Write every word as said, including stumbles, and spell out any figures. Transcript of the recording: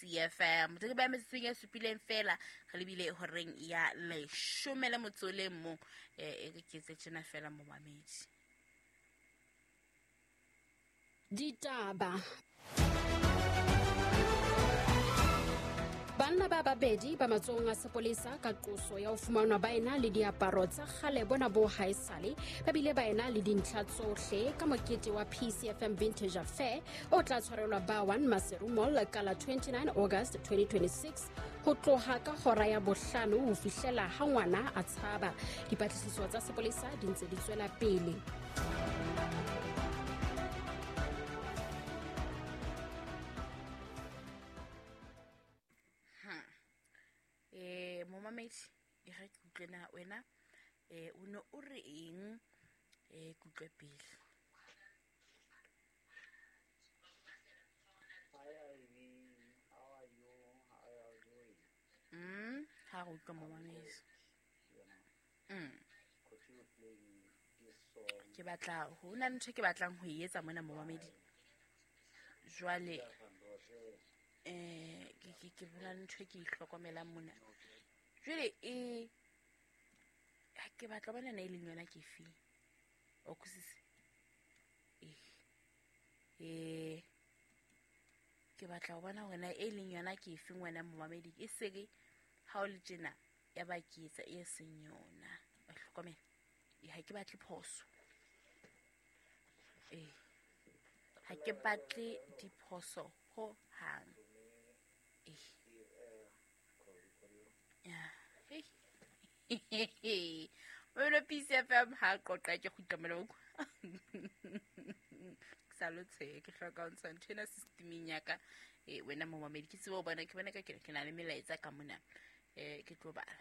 P C F M. Re ba metsotsong e supileng fela re lebile horeng ya leshome le motso le mong. Eh, e re ke etse tjena fela momamedi. Ditaba. Banna ba babedi ba matsohong a sepolesa ka qoso ya ho fumanwa ba ena le diaparo tsa kgale bona bo haesale, ba bile ba ena le dintlha tsohle ka mokete wa P C F M Vintage Affair o tla tshwarelwa ba one Maseru Mall ka la twenty-nine August twenty twenty-six ho tloha ka hora ya bohlano ho fihlela ha ngwana a tshaba. Dipatlisiso tsa sepolesa di ntse di tswela pele. Eh, momamedi, e re ke utlwe na wena, eh, o ne o re eng, eh, ke utlwe pele. Hi, Ivy. How are you? How are you doing? Mm, ha re utlwe momamedi. Mm. Continue playing this song. Ke batla, ho na le ntho e ke batlang ho e etsa mona momamedi. Jwale, eh, ke, ke, ke bona ntho e ke ihlokomelang mona. Jwale, e, ha ke batla bona na e leng yona ke efe? O kusise? Eh. Eh, ke batla ho bona hore na e leng yona ke efe ngwana momamedi. E se re ha o le tjena, ya ba ke etsa e seng yona. Wa hlokomela. Eh, ha ke batle phoso. Eh. Ha ke batle diphoso ho hang. Eh. Ya. Hey. Wena P C F M ha qoqa ke kgutla mona. Ke sa lo tshe, ke hloka ho ntsha ntho ena systemeng ya ka. Eh, wena momamedi, ke tsebe ho bona, ke bona ka ke, ke na le melaetsa ka mona. Eh, ke tlo bala.